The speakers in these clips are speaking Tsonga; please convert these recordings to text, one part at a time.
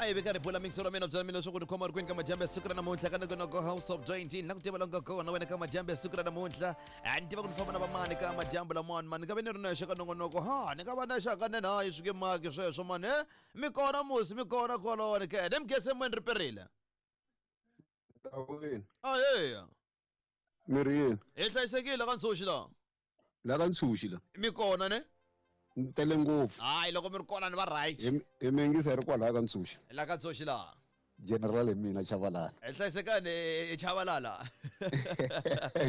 A hi veka ribula mixero wa mina byela mina leswaku ni khoma ri kwini ka madyambu ya siku ra namuntlha ka nongonoko House of 20 na ku tiva longa kona wena ka madyambu ya siku ra namuntlha. A ni tiva ku ni famba na vamani ka madyambu lamawani mani, ni nga ve ni ri nexe ka nongonoko. Ha ni nga va nexe hakanene, hayi swi nge maki sweswo mani. E mi kona musi, mi kona kwalawani ke ne mi gese moyeni ri perile. Tawini. Aheya. Mi ri yini? Hi hlayisekile ka Ntshuxi la. La ka Ntshuxi la. Mi kona ne? Ni tele ngopfu. Hayi loko mi ri kona ni va right. Hi mi yingisa hi ri kwalaya ka Ntshuxi. La ka Ntshuxi la. General hi mina Chavalala. Hi hlayisekani hi Chavalala.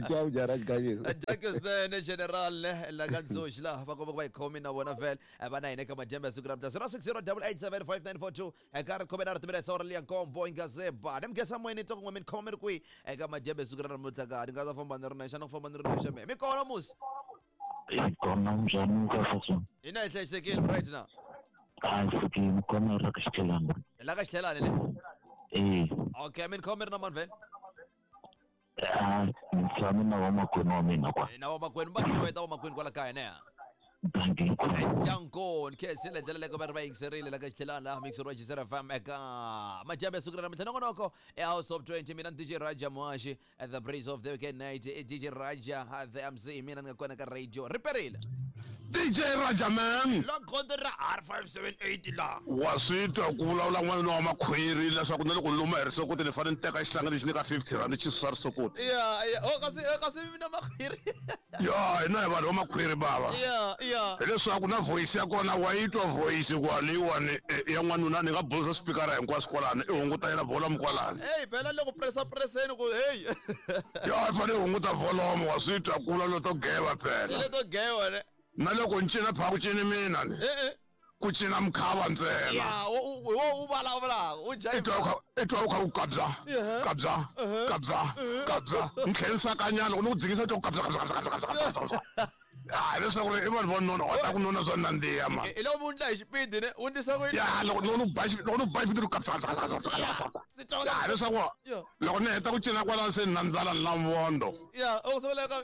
Ciao Jaraj Ganyisa. Jacques ne General ne la ka Ntshuxi la va komba ku va hi khomi na vona vhele va na hina ka madyambu ya siku ra namuntlha 0608875942 eka ri khome na ri timela sawura liya nkombo yi nga ze ba ni mugesa moyeni twa kun'we mi ni khoma mi ri kwihi eka madyambu ya siku ra namuntlha ka ni nga ta famba ni ri nexe na ku famba ni ri nexe me mi kona musi. Hi kona, njhani ka sweswo? Hina hi hlayisekile, right na? A hi fikile kona ra ka xitlhelani. Hi la ka xitlhelani le? Eh. Okay, mi ni khoma mi ri na mani vhele? A ni tshame na vamakwenu wa mina kwa. Na vamakwenu va xiweta vamakwenu kwala kaya ne? Dankie. Danko khensile ndlela leyi va ri va yingiserile la ka xitlhelani laha mixer wa Gisela FM eka madyambu ya siku ra namuntlha nongonoko e House of 20, mina ni DJ Raja Muhaxi, the breeze of the weekend night, i DJ Raja the MC, mina ni nga kona ka radio ri perile. DJ Raja man. La gondzo ra R578 la. Wa swi twa ku vulavula n'wanuna wa makhwiri leswaku na loko ni luma hi risokoti ni fanele ni teka xihlangi lexi ni ka 50 rand xi susa risokoti. Ya ya, oh kasi kasi mina makhwiri. Ya hina hi vanhu va makhwiri bava. Ya ya. Hileswaku na voice ya kona wa yi twa voice ku leyiwani ya n'wanuna ni nga bulisa spikara hinkwaswo kwalani i hunguta yena volume kwalani. Hey phela loko pressa presseni ku hey. Ya i fanele i hunguta volume wa swi twa ku vulavula to geva phela. Ile to geva ne. Na loko ni cina pha ku cini mina ni. Eh eh. Ku cina mukhava ntsena. Ya, wo u vulavulaka, u I twa u kha i twa u kha u kabya, kabya, kabya, kabya. Ni tlhela ni sakanyana loko ni ku dzikisa twa ku kabya, kabya, kabya, kabya, kabya, kabya. Ya hileswaku ri i vanhu vo nona wa ta ku nona swa nandziha ma. Hi loko u ndla hi xipidi ne, u ndlisa ku yini? Ya loko loko ni ku ba loko ni ku ba xipidi kabya, kabya, kabya, kabya, kabya. Se twa Ya hileswaku loko ni heta ku cina kwalano se ni na ndlala ni na mvondo. Ya, u sungula ka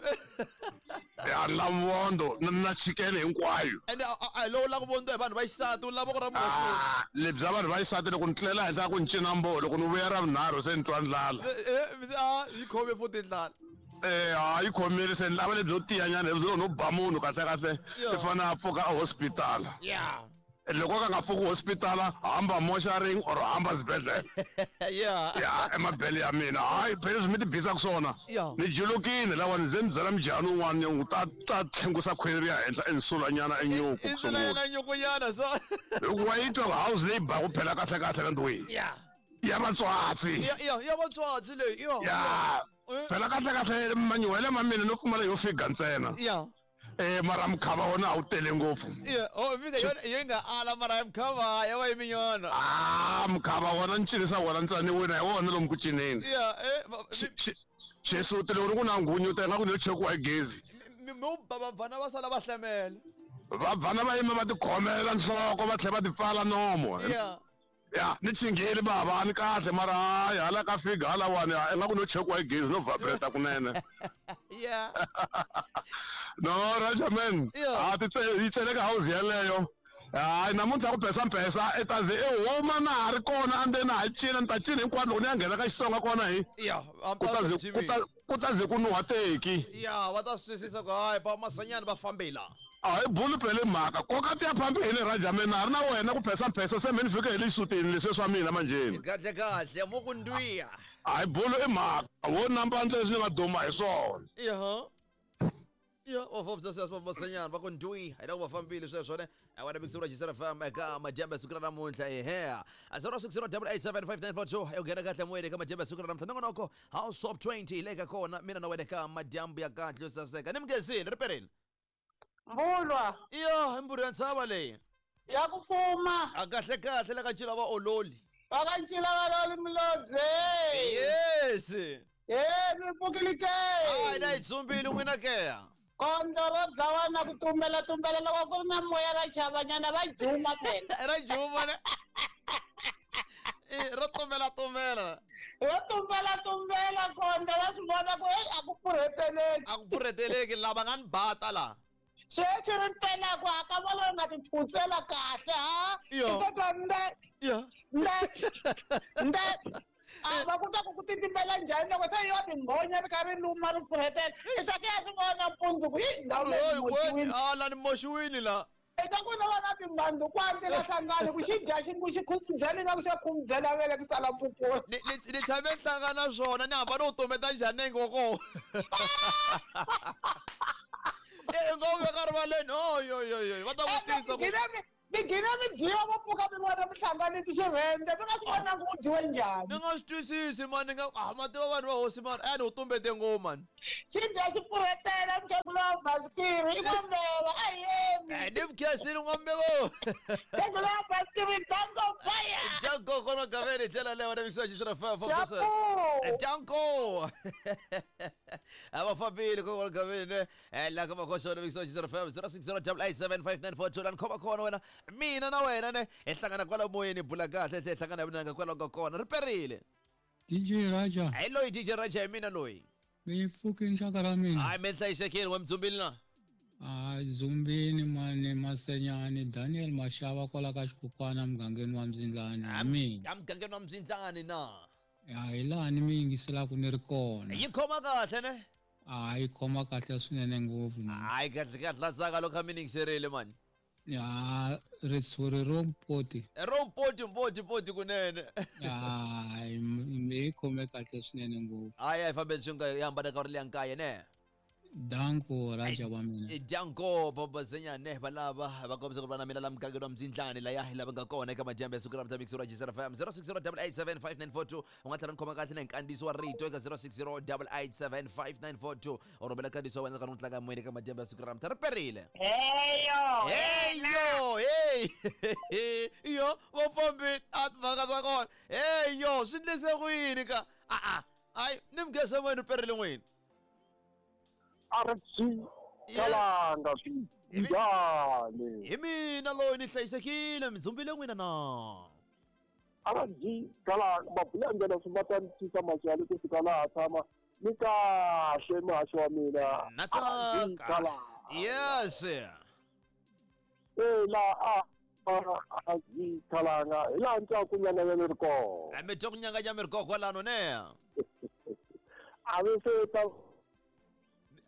Ya na mvondo na na chikele hinkwayo. Ende a hi lowu la ku vondiwa hi vanhu va xisati, u lava ku ra munhu wa xinuna. Ah, lebyi bya vanhu va xisati loko ni tlela henhla ku ni cina mboho loko ni vuya ra vunharhu se ni twa ndlala. Se eh se a yi khome futhi ndlala. Eh ha yi khomile se ni lava lebyo tiyanyana lebyo no ba munhu kahle kahle i fanele a pfuka a hospital. Yeah. Loko ka nga pfuki hospital hamba moxaring or hamba xibedhlele. Yeah. Ya emabele ya mina hayi phela leswi mi ti bisaka swona. Yeah. Ni julukile lawa ni ze ni byela mujhani un'wana ni ta ta tlhengusa khwiri ri ya henhla i ni sulanyana enyuku ku sungula. Insulanyana nyukunyana so. Hikuva yi twa house leyi baku phela kahle kahle la ndlwini. Yeah. Ya vatswatsi. Ya ya ya vatswatsi leyi. Ya. Ya. Phela kahle kahle manyuhele ma mina no pfumala yo figa ntsena. Ya. Eh mara mukhava wona a wu tele ngopfu. Yeah, oh fika yona yi nga ala mara ya mukhava ya va yiminyana. Ah mukhava wona ni cinisa wona ntsena ni wina hi wona lomu ku cineni. Yeah, eh Xisuti loko ri ku na nghunyuta ingaku ni yo chekiwa hi gezi. Mi ba vabvana va sala va hlamela. Vabvana va yima va tikhomela nhloko va tlhela va tipfala nomo. Yeah. Ya ni chingheli bava a ni kahle mara hayi hala ka fika halawani ingaku no chekiwa hi gezi no vibrate kunene. Yeah. No Raja man. Yeah. A ti yi tseleka house yeleyo. Hayi namuntlha ku pesa mpesa i ta ze i huma na ha ri kona andzeni ha cina ni ta cina hinkwako loko ni ya nghena ka Xitsonga kona hi. Yeah, Ku ta ze ku ta ku ta ze ku nuha teki. Yeah, va ta swi twisisa ku hayi ba masanyana va fambela. A hi buli phele mhaka koka ti ya phambili Raja man na ha ri na wena ku phesa mphesa se me ni fike hi le xisutini leswiya swa mina manjheni. Kahle kahle mo ku ndwiya. A hi buli i mhaka wo namba ndle leswi ni nga duma hi swona. Yeah. Ya, va fambisa sweswo va masanyana va ku ndwi hi loko va fambile sweswo ne a wena mixer wa Gisela FM eka madyambu ya siku ra namuntlha ehe a 0608875942 u nghena kahle moyeni eka madyambu ya siku ra namuntlha nongonoko House of 20 hi le ka kona mina na wena eka madyambu ya kahle yo saseka ni mugezile ri perile. Mbulwa. Iyo, i mbulu ya ntshava leyi. Ya ku fuma. A kahle kahle la ka ncila va ololi. Va ka ncila va ololi mulobye. Yes. He, mi pfukile ke. Hayi na yi tsumbile n'wina ke. Kondlo ro dlawa na ku tumbela tumbela loko ku ri na moya ra chavanyana va juma phela. Ra juma ne. Eh, ro tumbela tumbela. Ro tumbela tumbela kondlo va swi vona ku hey a ku pfurheteleki. A ku pfurheteleki lava nga ni bata la. Sweswi ri mpela ku a ka vona nga ti phutsela kahle ha. Yo. I ta twa nde. Ya. Nde nde a va ku ta ku ku titimela njhani loko se yo timbhonya ri kha ri luma ri pfurhetela i ta ku ya swi vona mpundzu ku yi ndhawu leyi moxiwini. A la ni moxiwini la. I ta ku na vona timhandzu kwandzi la hlangani ku xi dya xi ku xi khumuzela ingaku xa khumuzela vele ku sala mpupuni. Ni tshame ni hlangana na swona ni hamba ni wu tumbeta njhani nenge wa kona. E nga wu veka rivaleni oyoyoyo va ta vutisa ku Mi gcina mi dyiwa vo pfuka mi vona mi hlanganisi xirhendze mi nga swi vonangi ku dyiwe njhani. Ni nga swi twisisi mani ni nga ah ma tiva vanhu va hosi mani a ni wu tumbete ngopfu mani. Xi dya xi pfurhetela mukhegula wa basikiri i n'wambeva a hi yemi. Eh, ni mukhensile n'wambeva. Mukhegula wa basikiri danko fire. Danko kona gaveni hi ndlela leyo na mixo xi fa fa. Xapu. Danko. A va fambile kona gaveni la ka makoxo na mixo xi fa 0608875942 la ni khoma kona wena mina na wena ne hi hlangana kwala moyeni bula kahle hi hlangana vunanga kwalaho ka kona ri perile. DJ Raja. Hi loyi DJ Raja hi mina loyi. Mi pfukini xaka ra mina. Hayi mi hlayisekile wa mdzumbili na. A Zumbini mani Masenyani Daniel Mashava kwala ka xikukwana mugangeni wa Mzindlani hi mina. Ya mugangeni wa Mzindlani na. Ya hi laha ni mi yingiselaka ni ri kona. Yi khoma kahle ne? A yi khoma kahle swinene ngopfu. Hayi kahle kahle la tsaka loko mi yingiserile mani. Ya ritshuri ro mpoti. Ro mpoti mpoti mpoti kunene. Hayi mi yi khome kahle swinene ngopfu. Hayi a yi fambeni swi nga yi hambana ka ri liya nkaye ne. Danko Raja wa mina. Danko Bobozenyane valava va kombisa ku va na mina la mugangeni wa Mzindlani laya hi lava nga kona eka madyambu ya siku ra mixo ra Jisera FM 0608875942 u nga tlhela ni khoma kahle na nkandziyiso wa rito eka 0608875942 u rhumela nkandziyiso wa wena ka ni tlanga moyeni eka madyambu ya siku ra mta ri perile. Heyo. Heyo hey iyo va fambile a timhaka ta kona heyo swi ndlise ku yini ka a a ni mugese moyeni u perile n'wini. RG Kalanga njhani? Hi mina loyi ni hlayisekile midzumbile n'wina na. RG Kalanga mabula ndlela swi va ta ni tisa maxali ku fika laha tshama ni kahle muhaxi wa mina. Na tsaka. Yes. Eh la RG Kalanga hi laha ni twa ku nyanganya ni ri kona. Mi twa ku nyanganya mi ri kona kwalano ne. A vi se ta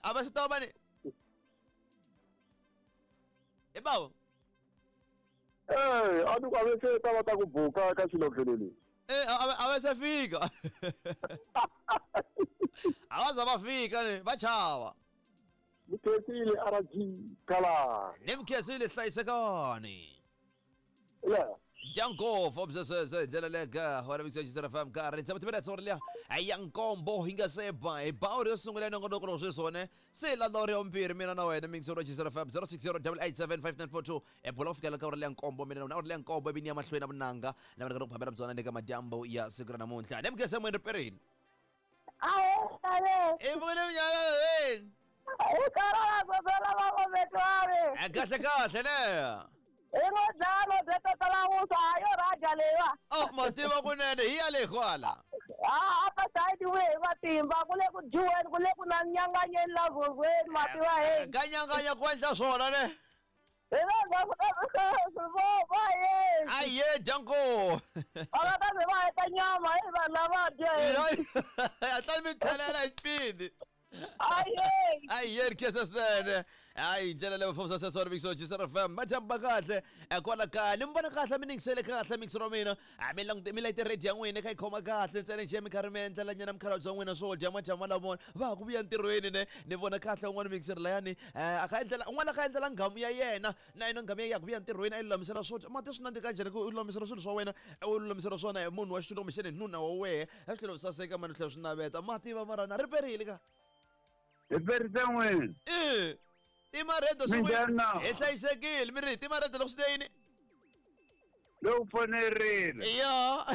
A va se ta va ni. E bavo. Eh, a ni ku a vi se ta va ta ku buka ka xilondlelo lexi. Eh, a va se fika. A va za va fika ni, va chava. Ni khensile RG Kalanga. Ni mi khensile hlayisekani. Yeah. Danko fobsese ndlela leka wena mixo Jisera FM nkarhi tshama timela sori liya ya nkombo hi nga se ba hi ba uri yo sungula ya nongonoko lowu sweswi wone se la lori ya vumbirhi mina na wena mixo ra Jisera FM 0608875942 e bula ku fikela ka uri liya nkombo mina na wena uri liya nkombo ivi ni ya mahlweni na vunanga na vana ka ku phamela byona ni ka madyambu ya siku ra namuntlha ni mugese moyeni ri perile. Ahe i vone minyala i karala gobela va gometware. Kahle kahle ne. Ingodlalo byetatalamusa yo raja lewa. Oh mativa kunene hi ya le kwala. Ah apa side we matimba kule ku dyiweni kule ku na nyanganyeni la vuvweni mativa he. Ka nyanganya ku endla swona ne. Aye danko. Va ta va heta nyama hi vanhu lava dya. A tlani mi thelela hi xipidi. Aye. Aye khesesene. Hayi ndlela leyo fofisa sesona mixo Jisera FM majamba kahle kwala kaya ni mi vona kahle mi ningisele kahle mixo ra mina mi langute mi layite radio ya n'wina kha yi khoma kahle ntsena njhe mi karhi mi endlela nyana mikhalabye wa n'wina swo dya majama lamona va ha ku vuya ntirhweni ne ni vona kahle un'wana mixer layani a kha endlela un'wana a kha endlela nghamu ya yena na yena nghamu ya ya ku vuya ntirhweni a yi lulamisela swo dya mati swi nandzika njhani ku u lulamisela swilo swa wena u lulamisela swona hi munhu wa xintu kumbexani nuna wa wehe a swi tlhela swi saseka mani swi tlhela swi naveta mati va marana ri perile ka Hi perise n'wini. Eh timaredo Minjhani? hi hlayisekile mi ri timaredo loko swi te yini Loko foni rila. Ya.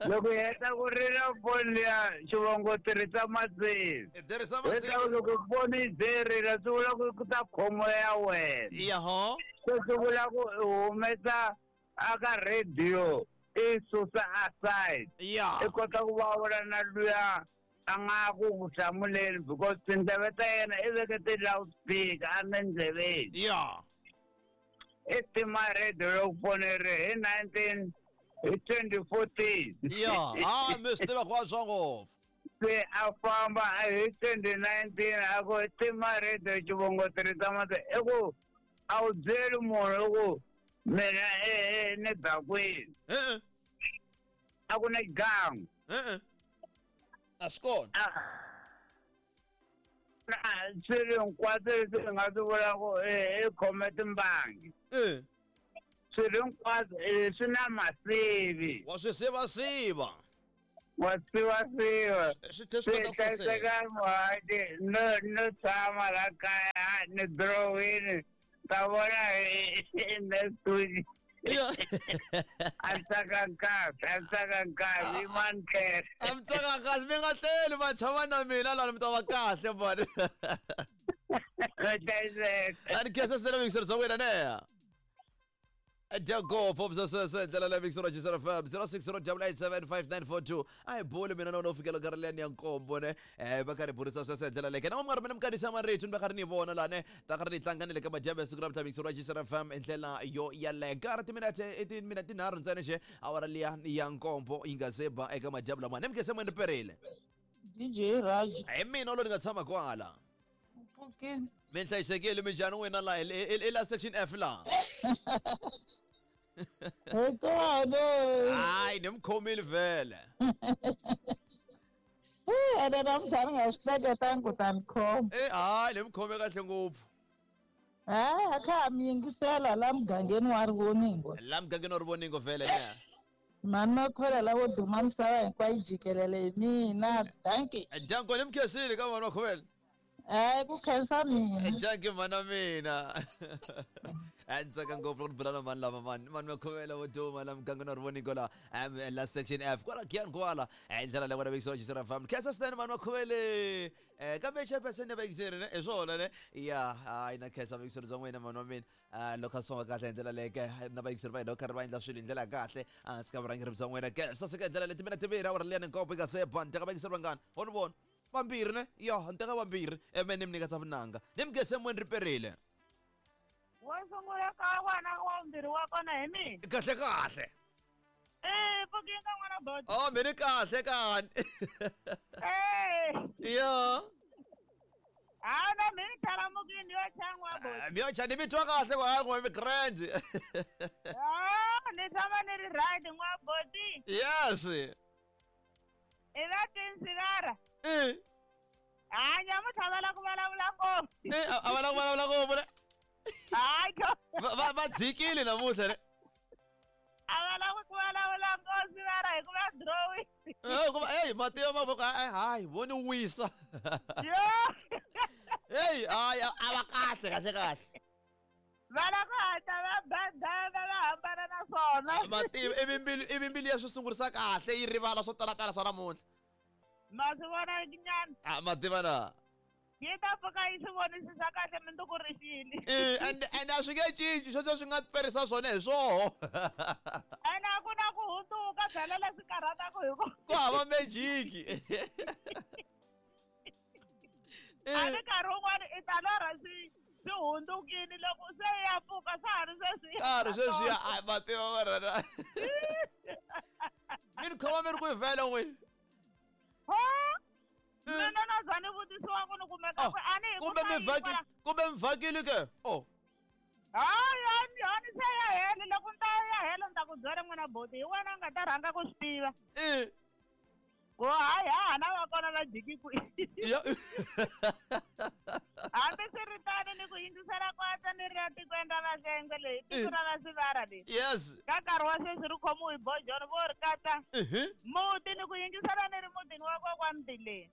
Loko hi heta ku rila foni liya xivongo tirhisa masivi. Tirhisa masivi. Leswaku loko foni yi ze rila swi vula ku ku ta khomo ya wena. Ya ho. Se swi vula ku i humesa aka radio i susa aside. Ya. I kota ku vulavula na luya a nga ku ku hlamuleni because tindleve ta yena i veke ti-loudspeaker a le ndleveni. Ya. I tima radio loko foni ri hi Hi 2014. Ya, ha mi swi tiva ku antswa ngopfu. Se a famba hi 2019 a ku timarito xivongo tirhisa mati i ku a wu byeli munhu i ku mina ni dakwini. E-e. A ku na xigangu. E-e. A swi kona. Na swilo hinkwaswo leswi hi nga swi vulaku i khome timbangi. Swilo hinkwaswo swi na masivi. Wa swi sivasiva. Wa sivasiva. Swi tlhe swi kota ku saseka. Hlayiseka muhati no tshama la kaya ni drowini ta vona hi next week. A tsaka nkarhi, a tsaka nkarhi, i mantlhela. A mi tsaka kahle, mi nga tlheli ma tshama na mina lani mi ta va kahle mani. Hlayiseka. A ni khensa swinene vuyingiseri bya wena ne. Dyangopo swesweswe ndlela leyi mixero Jisera FM 0608875942 a hi buli mina na wena u fikela nkarhi liyani ya nkombo ne va karhi burisa sweswe ndlela leyi na mi nga ri mina mi marito ni va karhi ni vona lani ta karhi ni tlanga ni le ka madyambu ya siku ra mutla mixero Jisera FM hi ndlela yo yaleyo nkarhi timinete i timinete tinharhu ntsena xe awara liya ya nkombo yi nga se ba eka madyambu lamaya ni mi khe se ni perile DJ Raj. Hi mina lo ni nga tshama kwala. Pfukini. Mi hlayisekile minjhani n'wina laha i la section F laha. Hi kona. Hayi ni mi khomile vhele. Ene namuntlha ni nga swi hleketangi ku ta ni khoma. Hayi ni mi khome kahle ngopfu. Hayi a kha ha mi yingisela la mugangeni wa Rivoningo. La mugangeni wa Rivoningo vhele ne. Mhani Makhwela lavo duma misava hinkwayo jikelele hi mina. Dankie. Danko ni mi khensile ka mhani Makhwela. Hayi ku khensa mina. Dankie mhana mina. A ni tsaka ngopfu loko ni bula na mhani lava mani mhani Makhwela vo duma la mugangeni wa Rivoningo la la section F kwala Giyani kwala hi ndlela leyi vona vekisiwa Jisera FM. Khensa swinene mhani Makhwele. Kambe chairperson ya vayingiseri ne hi swona ne ya hayi na khensa vayingiseri bya n'wina mhani wa mina. Loko a swi famba kahle hi ndlela leyi ke na vayingiseri va hina va karhi va endla swilo hi ndlela ya kahle hansi ka vurhangeri bya n'wina ke swi saseka hi ndlela leyi timina timbirhi awara liya ni nkombo yi nga se ba ni teka vayingiseri vangani ho ni vona vambirhi ne ya ni teka vambirhi eme ni mi nyika ta vunanga ni mi gese moyeni ri perile. Wo sungula ka wena wa vumbirhi wa kona hi mina. Kahle kahle. Pfukini ka n'wana boti. Oh mina kahle kani. Ya. Hayi na mina tharamukini yo chan'wa boti. Mi yo cha ni mi twa kahle ku hayi n'we mi grand. Ah, ni tshama ni ri right n'wa boti. Yes. I va tinsigara. Hayi nyamuntlha va lava ku vulavula ngopfu. A va lava ku vulavula ngopfu ne. Hayi Va dzikile namuntlha ne. A va lavi ku vulavula ngopfu sivara hikuva drawing. Hikuva ey matiyo ma ku hayi vo ni wisa. Yo. Hey hayi a va kahle kahle kahle. Va lava ku hatla va badana va hambana na swona. Matiyo ivi mbilu ya swi sungurisa kahle yi rivala swo talatala swa namuntlha. Ma swi vona nyana. A ma tiva na. Yi ta pfuka yi swi vonisisa kahle mundzuku ri xile. And a swi nge cinci sweswo swi nga perisa swona hi swoho. Ene a ku na ku hundzuka byala leswi karhataka hi ku. Ku hava magic. A ni nkarhi wun'wani i ta lorha swi hundzukile loko se ya pfuka swa ha ri sweswiya. Ka ha ri sweswiya a ma tiva marana. Mi ni khoma mi ri kwihi vhele n'wini? Mina na za ni vutisiwa ku ni kumeka ku a ni hi Kumbe mi vhakile kumbe mi vhakile ke? Oh. Hayi hayi ni se ya hela loko ni ta ya hela ni ta ku byela n'wina boti hi wena u nga ta rhanga ku swi tiva. Ku hayi ha na va kona va jiki kwihi. Hambi swi ri tano ni ku yingisela kwatsa ni ri ya tikweni ra Vahlengwe leyi tiko ra Vasivara leyi. Yes. Ka nkarhi wa sweswi ri khomiwe hi bojoni vo ri katsa muti ni ku yingisela ni ri mutini wa kokwa Mtileni.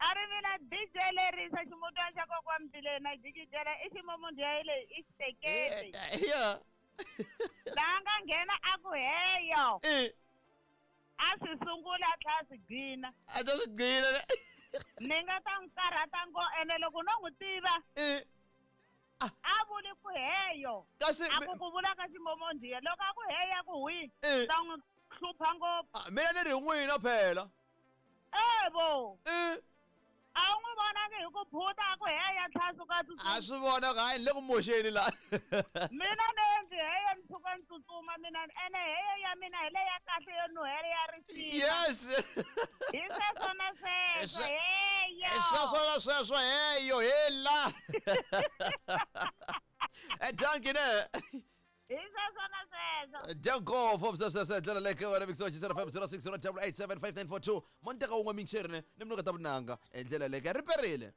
A ri mina DJ lerisa ximutwana xa kokwa Mtileni na jikijela i ximomundhiya leyi i xiteketi. Yeah. Laha nga nghena a ku heyo. A swi sungula a tlhela a swi gcina. A ta swi gcina ne. Ni nga ta n'wi karhata ngo ene loko no n'wi tiva. A vuli ku heyo. Kasi a ku ku vula ka ximomondhiya loko a ku heya ku hwi. Ta n'wi hlupha ngopfu. Mina ni ri n'wina phela. Evo. A wu n'wi vonangi hi ku phuta a ku heya tlhela a suka a tsutsuma. A swi vona ku hayi ni le ku moxeni la. Mina ni endli heyo ni tshuka ni tsutsuma mina ene heyo ya mina hi leya kahle yo nuhela ya risima. Yes. Hi sweswo na sweswo heyo. Hi sweswo na sweswo heyo hela. Dankie ne. Hi sweswo na sweswo. Danko for sese ndlela leke wena mixo xi 05 060 887 5942 monteka un'we mixeri ne ni mnuka ta vunanga ndlela leke ri perile.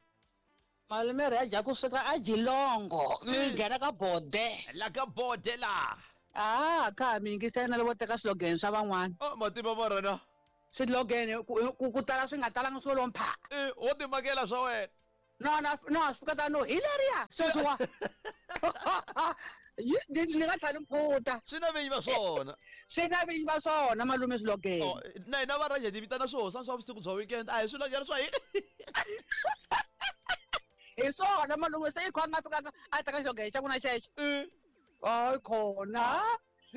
Malume ri ya kusuka a Jilongo mi nghena ka bode. La ka bode la. Ah, ka mi yingisela na loko teka slogan swa van'wana. Oh, mativa va rona. Slogan ku tala swi nga talanga swo lompha. Wo timakela swa wena. No no swi fika no hi leriya sweswiwa. Ni nga tlhela mphuta. Swi na vinyi va swona. Swi na vinyi va swona malume slogan. Oh, na hina va Raja ti vitana swo swa vusiku bya weekend. A hi slogan swa hina. Hi swona malume se i kho a nga fikanga a teka slogan xa n'wina xexo. Hayi khona.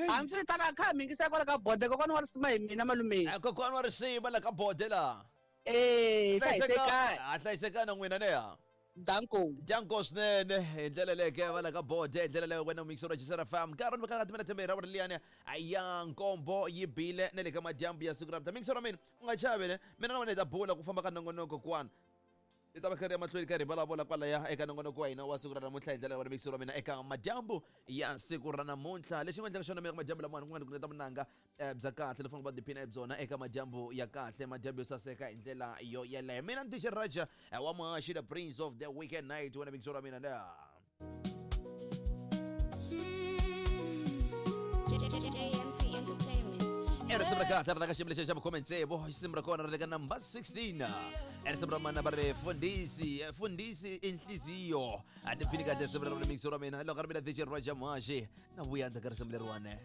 Hambiswiritano a kha mi yingisela kwala ka bode kokwana wa risima hi mina malume. Kokwana wa risima la ka bode la. Hlayisekani. Hlayisekani n'wina ne ya. Danko. Danko swinene hi ndlela leyo ke va la ka bode hi ndlela leyo wena mixer wa Jisera FM. Nkarhi ni ka timela thembera ra liyani ya nkombo yi bile na le ka madyambu ya siku ra mixer wa mina u nga chavi ne mina na wena hi ta bula ku famba ka nongonoko kwana. I ta va karhi ya mahlweni karhi vulavula kwalaya eka nongonoko wa hina wa siku ra namuntlha hi ndlela ya mixer wa mina eka madyambu ya siku ra namuntlha. Lexi nga endlaka xona mina eka madyambu lamawani ku nga ni ku vunanga bya kahle lefana va tiphina hi byona eka madyambu ya kahle madyambu yo saseka hi ndlela yo yeleyo. Mina ni DJ Raja wa Mahashi, the prince of the weekend night wena mixer wa mina na risimu ra kahle ra ka xiyimo lexi xa vukhume tsevu risimu ra kona ra le ka number 16 risimu ra mana va ri fundisi fundisi inhliziyo a tiphini kahle risimu ra mixer wa mina loko ri mina DJ Raja Mahashi na vuya ndzhaku ka risimu leriwani.